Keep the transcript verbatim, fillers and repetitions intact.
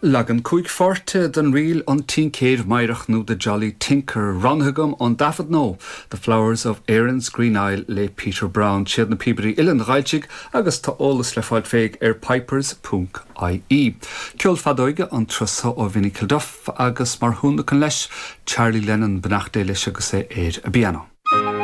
Leagan cúig pháirte den ríl an Tincéir Meidhreach nó The Jolly Tinker roghnaithe agam ón dtaifead nua The Flowers of Erin's Green Isle le Peter Brown siad na píobairí uilleann Ghailtigh agus tá eolas le fáil féig ar pipers.ie. Ceol feadóige an turas seo ó Vinnie Kilduff agus mar thionlacan leis Charlie Lennon beannacht Dé leis agus é ar an bpianó.